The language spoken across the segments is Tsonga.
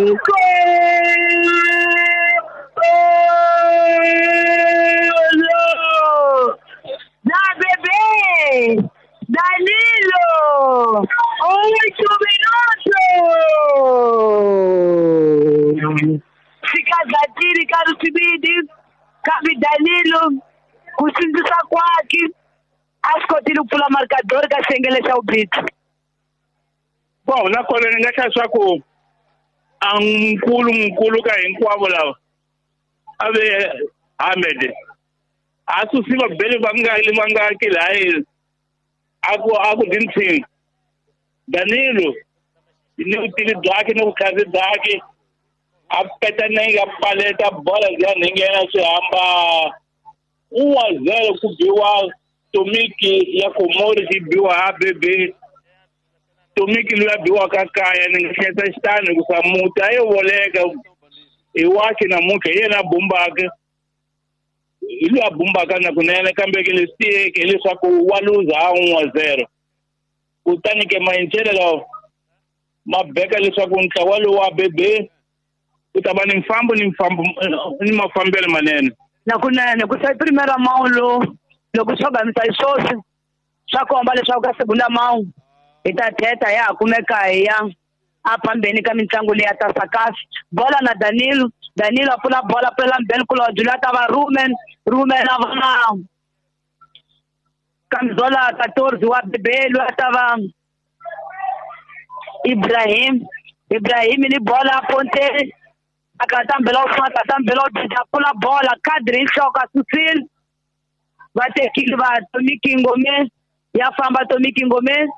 Gol! Da Bebê! Danilo! 8 minutos! Sikazatiri karusibidi kambe Danilo ku sindzisa kwakhe a swi kotile ku pfula markador ka xiyengele xa vumbirhi. Bon, nakona ni nga hlaya swa ku a nkulu nkulu ka hinkwavo lava a ve Ahmed a susi vabeli vangaki vangaki laha a ku dintshini Danilo ni vutivi byakhe ni vutlhari byakhe a peta nenge a paleta bola liya nghena swi hamba 1-0 ku biwa Tomiki ya Komori xi biwa ha bebe Tomiki loyi a biwaka kaya ni nga hleketa xitano hikusa muti a yo voleka hi wakhe namuntlha hi yena a bumbaka hi loyi a bumbaka na kunene kambe ke leswi tiyeke hileswaku wa luza ha 1-0 kutani ke mayincele lawa ma beka leswaku ntlawa lowu wa bebe ku ta va ni mfambo ni mfambo ni mafambelo manene. Nakunene ku sa primera mão lo loko swo gamisa swoswi swa komba leswaku ka segunda mão hi ta thetha ya ha kumeka hi ya a phambeni ka mitlangu leyi ya ta sakafi. Bola na Danilo, Danilo a pfula bola pfulela Mbele Kulodzi loyi a ta va Rumen, Rumen a va na Kamzola 14 wa Bebe loyi a ta va Ibrahim, Ibrahim ni bola Ponte akatambela ufuna akatambela udida pfula bola kadri hi nhloko a susile va tekile va Tomiki Ngome ya famba Tomiki Ngome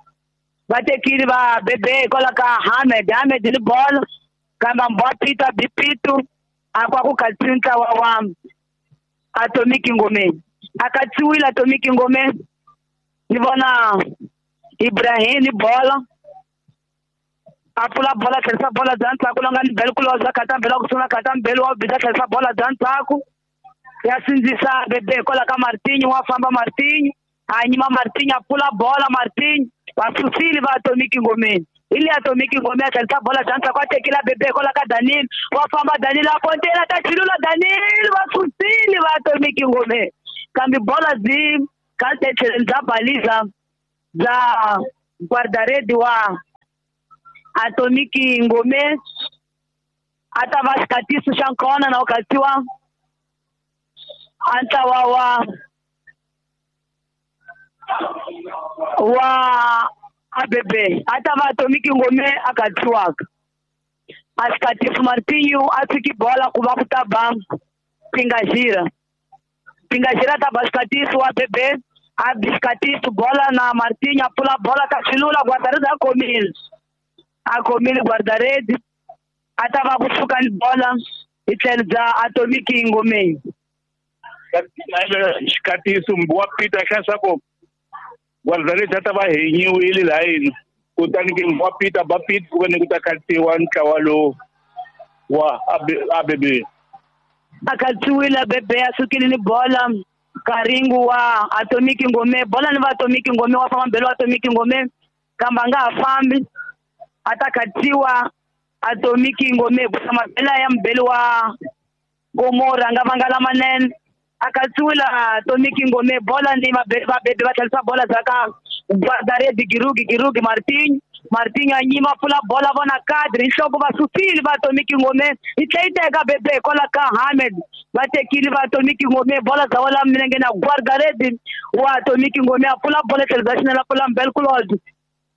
va tekile va Bebe hikwalaho ka Ahmed, Ahmed ni bola kambe ambiwa Pito a bi Pito a kwa ku katsiwi ntlawa wa Atomiki Ngome a katsiwile Atomiki Ngome ni vona Ibrahim ni bola a pfula bola tlherisa bola bya ndzhaku la nga ni Bele Kulodzi khatambela ku sungula khatambela wa biza tlherisa bola bya ndzhaku ya sindzisa Bebe hikwalaho ka Martinho wa famba Martinho a nyima Martinho a pfula bola Martinho va susile va Atomiki Ngomeni hi le Atomiki Ngomeni a tlherisa bola bya ndzhaku a tekile Bebe hikwalaho ka Danilo wa famba Danilo a pontela ta chilula Danilo va susile va Atomiki Ngomeni kambe bola byi kahle tlhelweni bya baliza bya guardaredi wa Atomiki Ngome a ta va xikatiso xa nkona na ku katsiwa a ntlawa wa ABB a ta va Atomiki Ngome a katsiwaka a xikatiso Martinho a tshiki bola ku va ku ta ba Pingajira, Pingajira ta ba xikatiso wa ABB a bi xikatiso bola na Martinho a pfula bola ka xilula guardaredi a khomile a khomile guardaredi a ta va kusuka ni bola hi tlhelo bya Atomiki Ngomeni. Xikatiso wa Peter xa swa ku guardaredi a ta va henyiwile layini kutani ke wa Peter ba Peter ku ni ku ta katsiwa ntlawa lowu wa ABB a katsiwile ABB a sukile ni bola Karingu wa Atomiki Ngome bola ni va Atomiki Ngome wa famba mbele wa Atomiki Ngome kambe a nga ha fambi a ta katsiwa Atomiki Ngome ku mabela ya mbele wa Gomora nga vanga lamanene a katsiwile Atomiki Ngome bola ni va Bebe va tlherisa bola bya ka guardaredi Girugi, Girugi Martinho, Martinho a nyima pfula bola vona kadri nhloko va susile va Atomiki Ngome yi tlhe yi teka Bebe hikwalaho ka Ahmed va tekile va Atomiki Ngome bola bya wela milenge na guardaredi wa Atomiki Ngome a pfula bola tlhelo bya xinene a pfula Mbele Kulodzi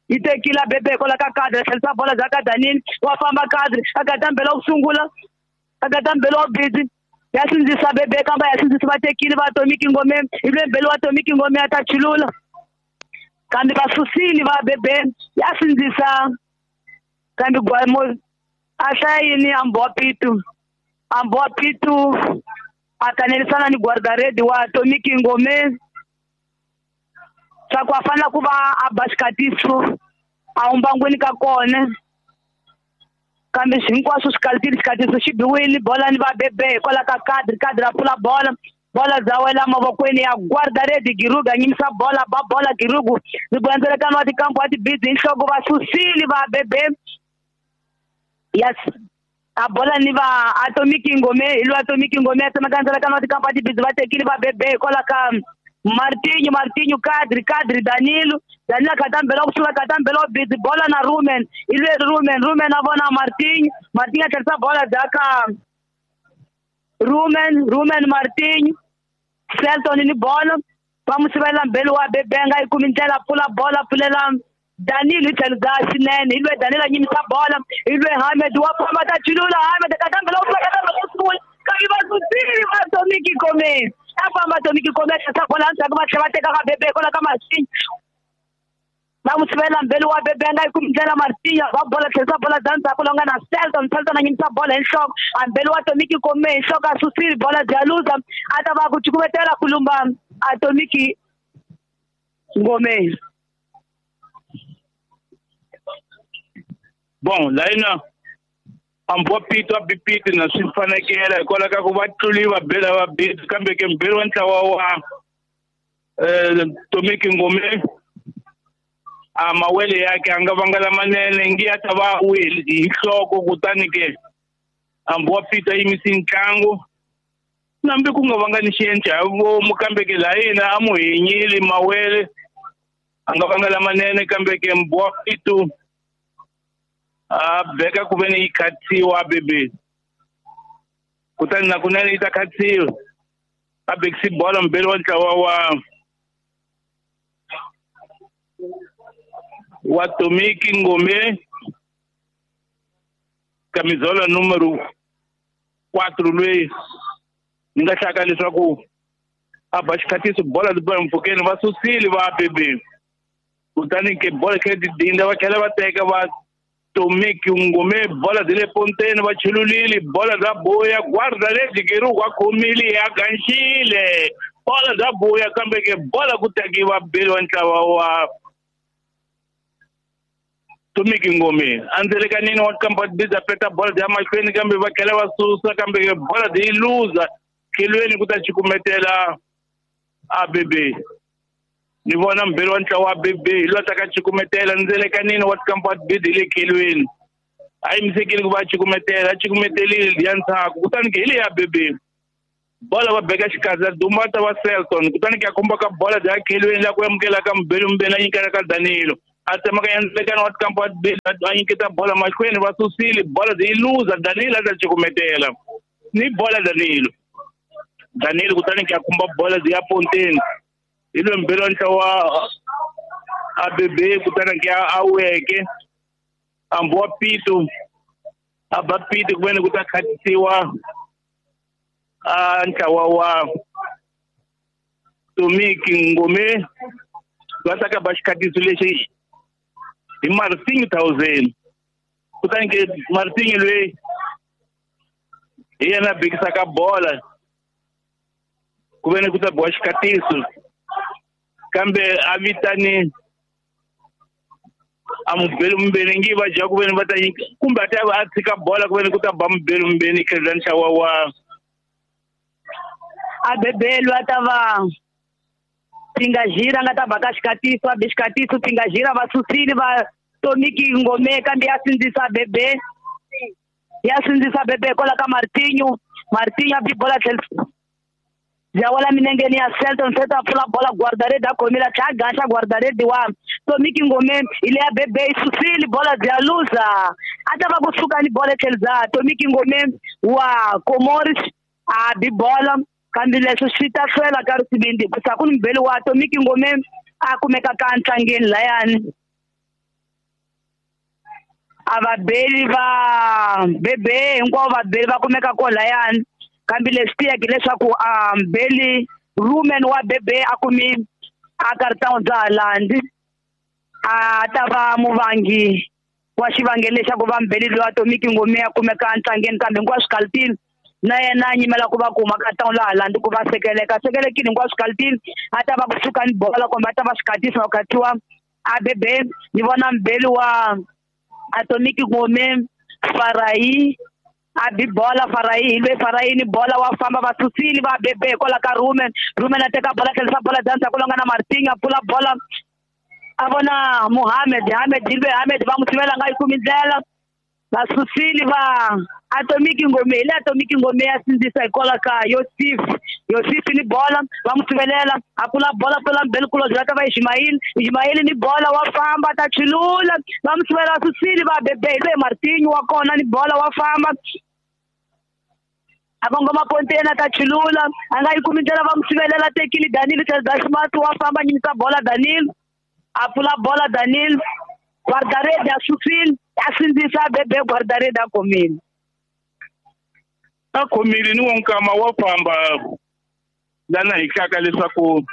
yi tekile Bebe hikwalaho ka kadri a tlherisa bola bya ka Danilo wa famba kadri a katambela ku sungula a katambela wa busy ya sindzisa Bebe kambe ya sindzisa va tekile va Atomiki Ngome hi lwe mbele wa Atomiki Ngome a ta chulula kambe va susile va Bebe ya sindzisa kambe gwamo a hlaya yini ambiwa Pito, ambiwa Pito a kanerisana ni guardaredi wa Atomiki Ngome swa ku a fanele ku va a ba xikatiso a humbangwini ka kona kambe hinkwaswo swi kalitile xikatiso xi biwile bola ni va Bebe hikwalaho ka kadri, kadri a pfula bola bola bya wela mavokweni ya guardaredi Girugu a nyimisa bola ba bola Girugu ribulandzelekano wa tikampu wa tibizi hi nhloko va susile va Bebe ya A bola ni va Atomic Ngome hi lo Atomic Ngome a tsemakanyisela ka Noti Kampati Bids va tekile va bebe hikwalaho ka Martinho Kadri Danilo a khatambela kusuka khatambela Bids bola na Rumen hi lwe Rumen a vona Martinho a tlherisa bola bya ka Rumen Martinho Selton ni bola va n'wi sivela mbeli wa bebe a nga yi kumi ndlela pfula bola pfulela Danilo tlhelo bya xinene hi lwe Danilo a nyimisa bola hi lwe Hamed wa famba ta chulula Hamed katambela u katambela u sungula kambe va susile va Atomic Ngome a famba Atomic Ngome a tlherisa bola endzhaku va tlhela va teka ka bebe hikwalaho ka Martinho va n'wi sivela mbeli wa bebe a nga yi kumi ndlela Martinho va bola tlherisa bola bya ndzhaku lowu nga na Selton a nyimisa bola hi nhloko a mbeli wa Atomic Ngome hi nhloko a susile bola bya luza a ta va ku cukumetela ku lumba Atomic Ngome. Bon, laina ambo pito abipiti na swi fanekela hikwalaho ka ku va tluliwa bela va bit kambe ke mbirhi wa ntlawa wa Atomic Ngome a mawele yake a nga vanga lamanene ngi ya ta va wile hi nhloko kutani ke ambo pito a yimisi ntlangu nambi ku nga vanga ni xiendla hi vomu kambe ke layina a mu hinyile mawele a nga vanga lamanene kambe ke mbo pito a beka ku veni yi khatsiwa bebe kutani na kunene yi ta khatsiwa a bekisi bola mbeli wa ntlawa wa Atomic Ngome camisola número 4 loyi ni nga hlaka leswaku a ba xikhatiso bola byi mpfhukeni va susile va bebe kutani ke bola khe ti dinda va tlhela va teka va Atomic Ngome bola byi le ponteni va chululile bola bya boya guarda lebyi keruku a khomile ya ganxile bola bya boya kambe ke bola ku tekiwa beli wa ntlawa wa Atomic Ngome andzelekanini wa Kampati Bids a peta bola bya mahlweni kambe va tlhela va susa kambe ke bola byi luza tlhelweni ku ta cukumetela ABB ni vona mbirhi wa ntlawa wa ABB hi loyi a ta ka cukumetela ndzelekanini wa Kampati Bids hi le khelweni a yimisekile ku va a cukumetela a cukumetelile liya ndzhaku kutani ke hi le ya ABB bola va beka xikandza duma ta va Selton kutani ke a khomba ka bola bya khelweni la ku amukela ka mbirhi mbirhi a nyikela ka Danilo a tsemaka ndzelekano wa Kampati Bids a nyiketa bola mahlweni va susile bola byi luza Danilo a ta cukumetela ni bola Danilo kutani ke a khumba bola byi ya ponteni hi loyi mbirhi wa ntlawa wa ABB kutani ke a weke ambu wa pito a ba pito ku veni ku ta khatisiwa a ntlawa wa Atomic Ngome va ta ka ba xikhatiso lexi hi Martinho 1000 kutani ke Martinho loyi hi yena a bekisaka bola ku veni ku ta biwa xikhatiso kambe a vitani a mubeli mumbeni ngi va dya ku veni va ta kumbe a ta a tshika bola ku veni ku ta ba mubeli mumbeni tlhela ntlawa wa ABB loyi a ta va Pingajira nga ta ba ka xikhatiso a be xikhatiso Pingajira va susile va Atomic Ngome kambe ya sindzisa ABB ya sindzisa ABB hikwalaho ka Martinho a bi bola tlhela bya wela minengeni ya Selton a pfula bola guardaredi a khomile a tlhela a gaxa guardaredi wa Atomic Ngome hi le ya bebe yi susile bola bya luza a ta va kusuka ni bola tlhelo bya Atomic Ngome wa Comoros a bi bola kambe leswi swi ta hlwela ka risivindi hikusa ku ni mbeli wa Atomic Ngome a kumeka ka ntlangeni layani a vabeli va bebe hinkwavo vabeli va kumeka ko layani kambe leswi tiyeke leswaku a mbeli Rumen wa bebe a kumi a karitawu bya Halandi a ta va muvangi wa xivangelo lexaku va mbeli loyi Atomic Ngome a kumeka ntlangeni kambe hinkwaswo kalitini na yena a nyimela ku va kuma ka tawula Halandi ku va sekeleka sekelekile hinkwaswo kalitini a ta va kusuka ni bola kumbe a ta va xikhatiso ku khatiwa ABB ni vona mbeli wa Atomic Ngome Farayi a bi bola Farayi hi lwe Farayi ni bola wa famba va susile va bebe hikwalaho ka Rumen a teka bola tlherisa bola bya ndzhaku lowu nga na Martinho a pfula bola a vona Mohamed Hamed hi lwe Hamed va n'wi sivela nga yi kumi ndlela va susile va Atomiki Ngome le Atomiki Ngome ya sindzisa hikwalaho ka Yosif Yosif ni bola va n'wi sivelela a pfula bola pfula mbele kulobye va ta va Ismail Ismail ni bola wa famba ta chulula va n'wi sivela susile va bebe hi loyi Martinho wa kona ni bola wa famba a kongoma ponteni a ta chulula a nga yi kumi ndlela va n'wi sivelela tekile Danilo Smart wa famba nyimisa bola Danilo a pfula bola Danilo guardarede a susile a sindzisa bebe guardarede a khomile a khomile ni wonkama wa famba lana hi hlaka leswaku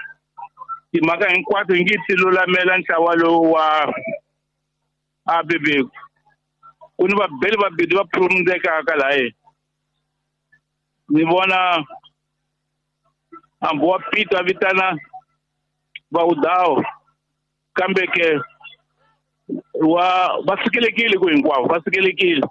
timhaka hinkwato hi nge ti lulamela ntlawa lowu wa ABB ku ni vabeli vabedi va phurumundekaka laye ni vona hambi wa Peter a vitana Vaudawo kambe ke wa va sikelekile ku hinkwavo va sikelekile.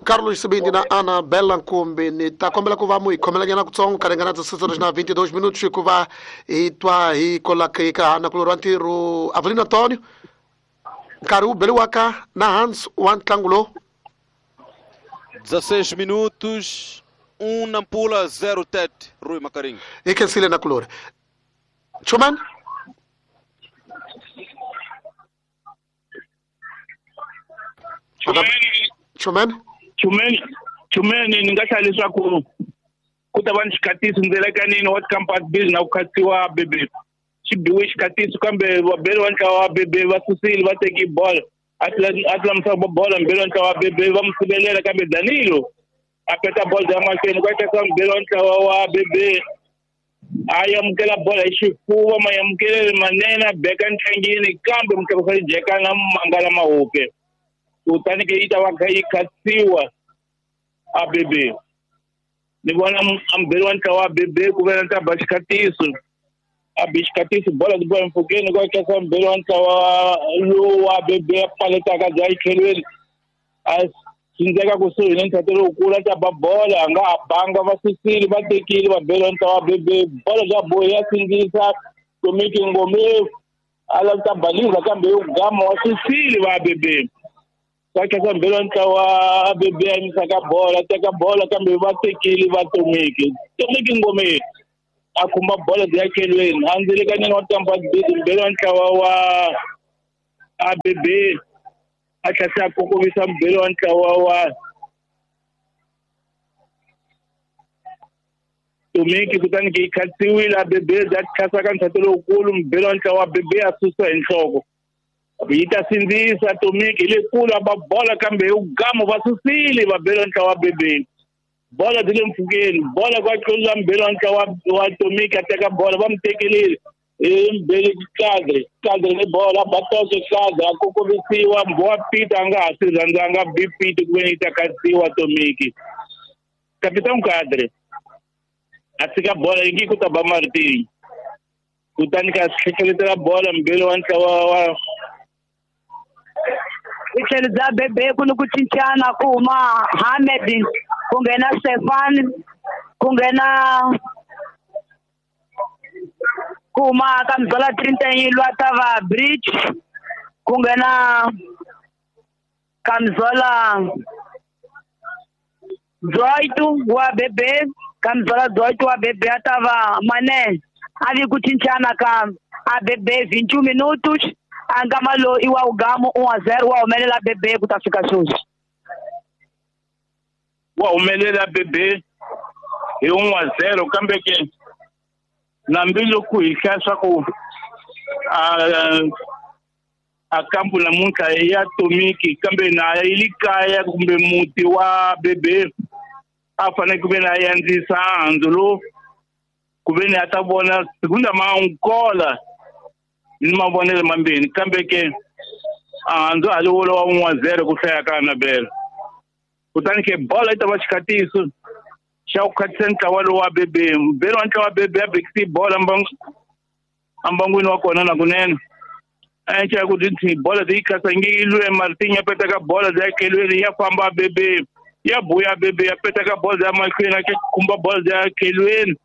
Carlos Sibindi na Ana Bela Nkumbi ni ta kombela ku va mu hi khomelanyana kutsongo ka ringana 16:22 minutos hikuva hi twa hi kolaka ka nakulorhi wa ntirho Avelino Antonio nkarhi wu beriwaka na Hans wa ntlangu lowu. 16 minutos, 1 Nampula, 0 Tete, Rui Macarinho. Hi khensile nakulorhi. Chumani? Chumani? Chumeni ni nga hlaya leswaku ku ta va ni xikatiso ndzelekanini wa Campus Bill na ku khatiwa bebe xi biwe xikatiso kambe vabeli wa ntlawa wa bebe va susile va teki bola a tlamisa bola mbeli wa ntlawa wa bebe va n'wi sivelela kambe Danilo a peta bola ya mahlweni ku teka mbeli wa ntlawa wa bebe a amukela bola hi xifuva mayamukelele manene a beka ntlangini kambe mutlakusa jeka na mangala mahupe kutani ke yi ta va kha yi khasiwa ABB ni vona ambeli wa ntlawa wa ABB ku ve na ta ba xikatiso a bi xikatiso bola ti bola mpfhukeni ku khasa mbeli wa ntlawa lowu wa ABB a paletaka bya yitlhelweni a sindzeka kusuhi ni ntlhato lowukulu a ta ba bola a nga ha banga va susile va tekile vabeli wa ntlawa wa ABB bola bya bohi ya sindzisa Tomiki Ngome a lava ta baliza kambe yo gama wa susile va ABB va khasa mbeli wa ntlawa ABB a yimisaka bola teka bola kambe va tekile va Tomiki Tomiki Ngome a khumba bola bya tlhelweni a ndzelekanini wa Campus Bill mbeli wa ntlawa wa ABB a tlhela a kokovisa mbeli wa ntlawa wa Tomiki kutani ke yi khasiwile ABB bya khasa ka ntlhato lowukulu mbeli wa ntlawa wa ABB a susa hi nhloko yi ta sindzisa Tomiki hi lekulu a ba bola kambe hi gamo va susile vabeli wa ntlawa wa ABB bola byi le mpfhukeni bola kwa tlula mbeli wa ntlawa wa Tomiki a teka bola va n'wi tekelile hi mbeli kadre kadre ni bola ba toke kadre a kokovisiwa mbwa Peter a nga ha swi rhandzanga bi Peter ku ve yi ta khasiwa Tomiki Capitão Kadre a tshika bola yi nge ku ta ba Martin kutani ka hlekeletela bola mbeli wa ntlawa wa hi tlhelo bya bebe ku ni ku cincana ku huma Hamed ku nghena Stefan ku nghena ku huma ka Mzola 31 lwa ta va Bridge ku nghena ka Mzola 18 wa bebe ka Mzola 18 wa bebe a ta va Mane a vi ku cincana ka ABB 21 minutos a nkama lowu i wa Ugamo 1-0 wa humelela bebe ku ta fika sweswi wa humelela bebe hi 1-0 kambe ke nambiloko hi hlaya swa ku a kampu namuntlha ya Tomiki kambe na yi le kaya kumbe muti wa bebe a fanele ku ve na yandzisa handzu lowu ku ve ni a ta vona segunda mankola ni mavonelo mambirhi kambe ke handzu a li wolo wa 1-0 ku hlaya ka Anabela kutani ke bola yi ta va xikatiso xa ku khatisa ntlawa lowu wa BB mbeli wa ntlawa wa BB a bekisi bola ambangwini wa kona nakunene a xa ku ti bola ti yi khasa nge yi lwe Martin ya petaka bola ya kelweni ya famba BB ya buya BB ya petaka bola ya mahlweni a khumba bola ya kelweni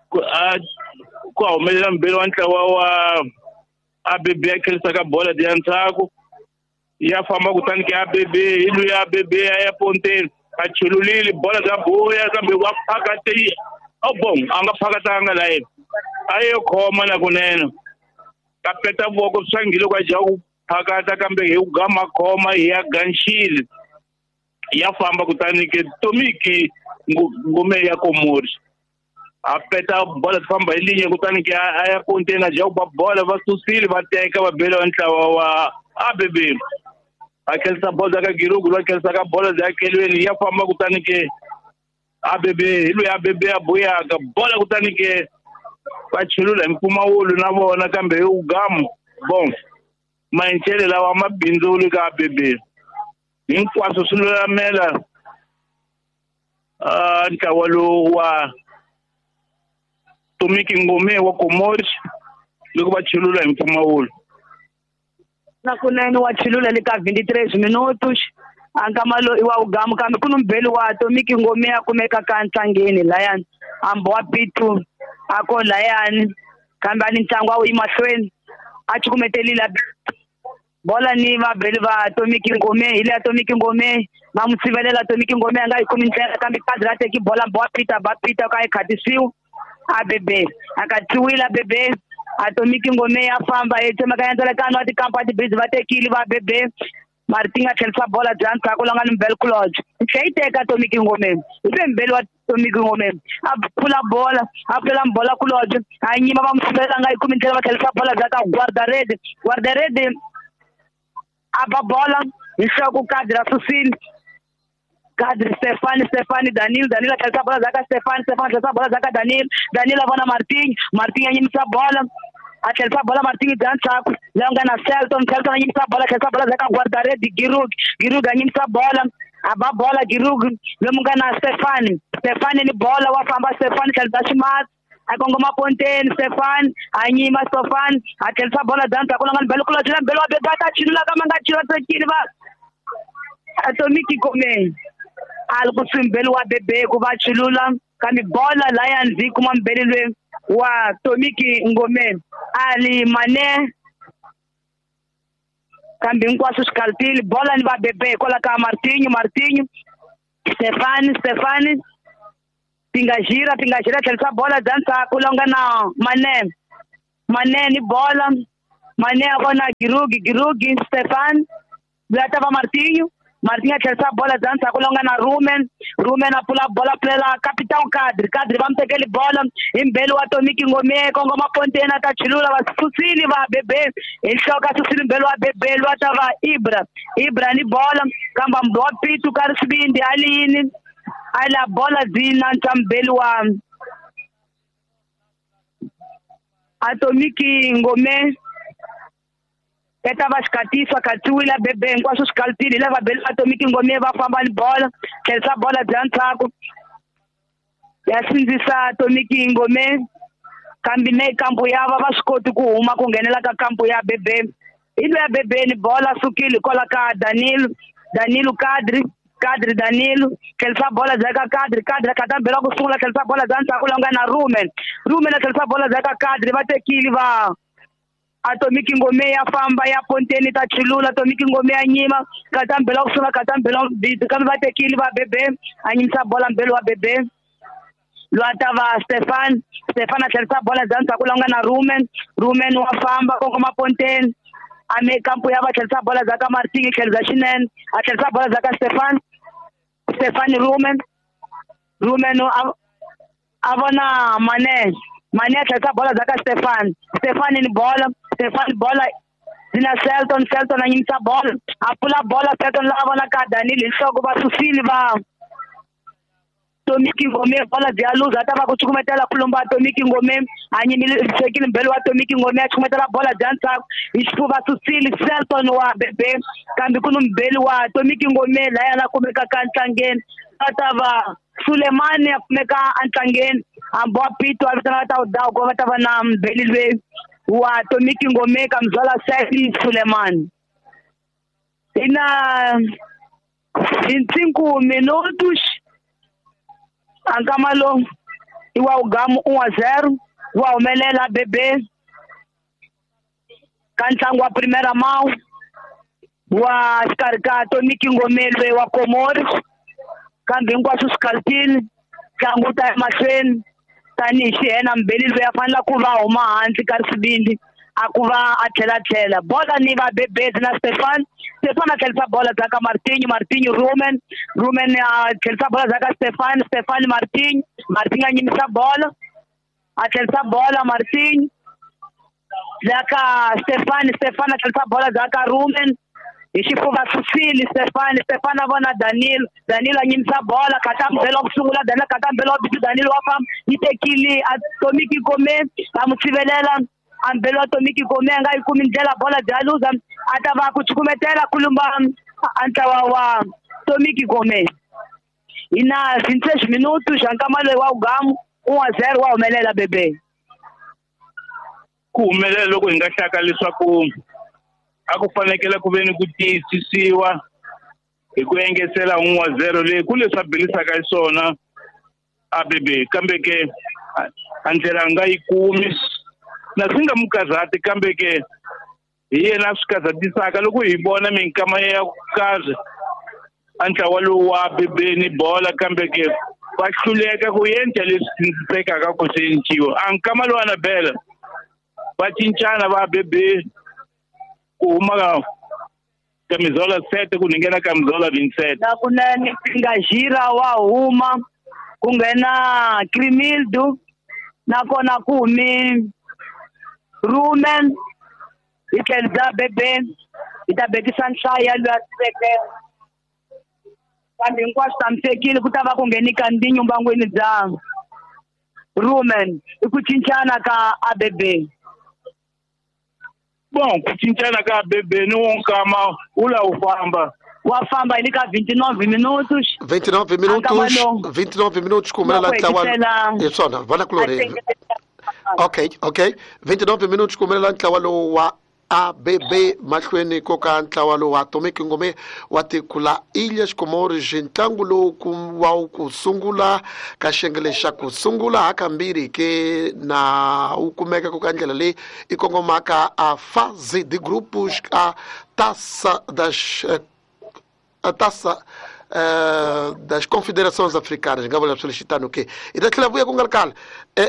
ku humelela mbeli wa ntlawa wa ABB ya khelisaka bola ya ndzhaku Ya famba kutani ke ABB hi luya ABB ya ponteni a chululile bola bya buya kambe wa phakati oh bon a nga phakatanga la yena a yo khoma na kunene ka peta voko swangile kwa ja ku phakata kambe hi ku gama khoma hi ya ganxile ya famba kutani ke Tomiki Ngome ya Komori a peta bola famba hi linye kutani ke a ya ponteni a ja ku ba bola va susile va teka va bela ntlawa wa ABB a khelisa bola ka Girugu va khelisa ka bola ya kelweni ya famba kutani ke ABB hi loyi ABB ya buyaka bola kutani ke va chulula hi mpfumawulo na vona kambe hi ugamu bon maenchele lawa mabindzuli ka ABB hinkwaswo swi lulamela ntlawa lowu wa Tomiki Ngome wa Komori loko va chulula hi mpfumawulo na kunene wa chulula le ka 23 minutos ankama lo i wa ugamu kambe ku ni mbheli wa Tomiki Ngome a kumeka ka ntlangeni layani hambi wa P2 a ko layani kambe a ni ntlangu a wu yi mahlweni a cukumetelile bola ni vabeli va Tomiki Ngome hi le Tomiki Ngome va n'wi sivelela Tomiki Ngome a nga yi kumi ndlela kambe kadri a teki bola ba Peter ba Peter ka yi khatisiwa ABB a katiwile ABB Atomiki Ngome ya famba yi tsemakanya ndzelekano wa tikampa tibridge va tekile va ABB Martin a tlherisa bola bya ndzhaku la nga ni Mbel Lodge tlhe yi teka Tomiki Ngome hi ve Mbel wa Tomiki Ngome a phula bola a pfula bola ku Lodge a nyima va n'wi sivelela nga yi kumi ndlela va tlherisa bola bya ka Guardarede Guardarede a ba bola hi nhloko kadri a susile Kadri Stefani Stefani Danilo Danilo tlherisa bola bya ka Stefani Stefani tlherisa bola bya ka Danilo Danilo a vona Martin Martin a nyimisa bola a tlherisa bola Martin bya ndzhaku leyi nga na Selton Selton a nyimisa bola tlherisa bola bya ka Guardarede Giroud Giroud a nyimisa bola a ba bola Giroud lomu nga na Stefani Stefani ni bola wa famba Stefani tlherisa ximatsi a kongoma ponteni Stefani a nyima Stefani a tlherisa bola bya ndzhaku la nga ni Mbel Lodge la Mbel wa beba ta chulula ka ma nga chula tekile va Atomiki Ngome a li ku Mbel wa bebe ku va chulula kambe bola laya ndzi kuma mbeli lwe wa Tomiki Ngome ali mane kambe hinkwaswo swi kaltile bola ni va bebe kwala ka Martinho Martinho Stefani Stefani Pingajira Pingajira tlherisa bola bya ndzhaku la nga na Mane Mane ni bola Mane a vona Girugi Girugi Stefani loyi a ta va Martinho Martin a tlherisa bola bya ndzhaku la nga na Rumen Rumen a pfula bola pfulela Capitão Kadri Kadri va mu tekeli bola hi mbeli wa Tomiki Ngome kongoma ponteni a ta chulula va susile va bebe hi nhloko a susile mbeli wa bebe loyi a ta va Ibra Ibra ni bola kambe wa Pitu ka ri xivindi a liyini a la bola byi nantswa mbeli wa Atomiki Ngome eta va xikatisa katiwile bebe hinkwaswo swi kaltile hi lava beli Atomiki Ngome va famba ni bola tlherisa bola bya ndzhaku ya sindzisa Atomiki Ngome kambe ne kampu ya va va swi koti ku huma ku nghenela ka kampu ya bebe hi loyi ya bebe ni bola sukile kwala ka Danilo Danilo Kadri Kadri Danilo tlherisa bola bya ka Kadri Kadri a mbela ku sungula tlherisa bola bya ndzhaku la nga na Rumen Rumen a tlherisa bola bya ka Kadri va tekile va Atomiki Ngome ya famba ya ponteni ta chulula Atomiki Ngome ya nyima kata mbela ku sungula kata mbela kambe va tekile va bebe a nyimisa bola mbelo wa bebe loyi a ta va Stefan Stefan a tlherisa bola bya ndzhaku la nga na Rumen Rumen wa famba kongoma ponteni a me kampu ya va tlherisa bola bya ka Martin tlherisa xinene a tlherisa bola bya ka Stefan Stefan Rumen Rumen a vona Mane Mane a tlherisa bola bya ka Stefan Stefan ni bola Stefan bola zina Selton Selton a nyimisa bola a pfula bola Selton la vona ka Danilo hi nhloko va susile va Tomiki Ngome bola bya luza ta va ku cukumetela ku lomba Tomiki Ngome a nyimile sekile mbelo wa Tomiki Ngome a cukumetela bola bya ndzhaku hi xifuva susile Selton wa bebe kambe ku ni mbeli wa Tomiki Ngome laya la kumeka ka ntlangeni a ta va Sulemani a kumeka entlangeni hambi wa Pito a vitana ta udawu ku va ta va na mbeli lweyi wa Tomiki Ngome ka mzwala Saidi Sulemani ina 25 minutos ankama lo i wa ugamu 1-0 wa humelela bebe ka ntlangu wa primera mão Wa xikarhi ka Tomiki Ngomelwe wa Komori kambe hinkwaswo swi kalutile ntlangu wu ta ya mahlweni tanihi xihena Mbeli loyi a fanele ku va huma hansi ka risivindi a ku va a tlhela bola ni va Bebezi na Stefan. Stefan a tlherisa bola bya ka Martinho, Martinho Rumen, Rumen a tlherisa bola bya ka Stefan, Stefan Martinho, Martinho a nyimisa bola a tlherisa bola Martinho bya ka Stefan, Stefan a tlherisa bola bya ka Rumen hi xifuva susile Stefan, Stefan a vona Danilo, Danilo a nyimisa bola kata mbelo ku sungula Danilo kata mbelo wa bitu Danilo wa famba yi tekile a Tomiki Gome va mu tshivelela a mbelo wa Tomiki Gome a nga yi kumi ndlela bola bya luza a ta va ku cukumetela kulumba a ntlawa wa Tomiki Gome hi na 26 minutos xa nkama loyi wa ugamu 1-0 wa humelela bebe ku humelela loko hi nga hlaka leswaku a ku fanekele ku ve ni ku tiyisisiwa hi ku engetela 1-0 leyi ku leswi a bilisaka hi swona a bebe kambe ke a ndlela a nga yi kumi na swi nga mu karhati kambe ke hi yena a swi karhatisaka loko hi vona minkama ya ku karhi a ntlawa lowu wa bebe ni bola kambe ke va hluleka ku endla leswi tsindzisekaka ku swi enciwa a nkama lowu Anabela va cincana va bebe ku huma kamizola 7 ku nghena kamizola 27 na kunene Ngajira wa huma ku nghena Crimildo nakona ku humi Rumen hi tlhelo bya bebe hi ta bekisa nhlayo loyi a siveke kambe hinkwaswo tshamisekile ku ta va ku ngheni Kandinyo mbangwini bya Rumen i ku cincana ka ABB. Bon ku cincana ka ABB ni wo nkama wu la wu famba wa famba hi le ka 29 minutos 29 minutos 29 minutos ku humelela ntlawa hi swona vona kulorhi okay okay 29 minutos ku humelela ntlawa lowu wa ABB mahlweni ko ka ntlawa lowu wa Tomiki Ngome wa tiko la Ilhas Comores ntlangu lowu wa ku sungula ka xiyenge xa ku sungula hakambirhi ke na wu kumeka ku ka ndlela leyi i kongomaka a fase de grupos a taça das a taça das confederações africanas nga vula swilo xitano ke hi ta tlhela vuya ku nga ri khale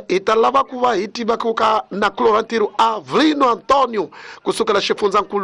hi ta lava ku va hi tiva ku ka nakulorha ntirho Avelino Antonio kusukela xifundzankulu.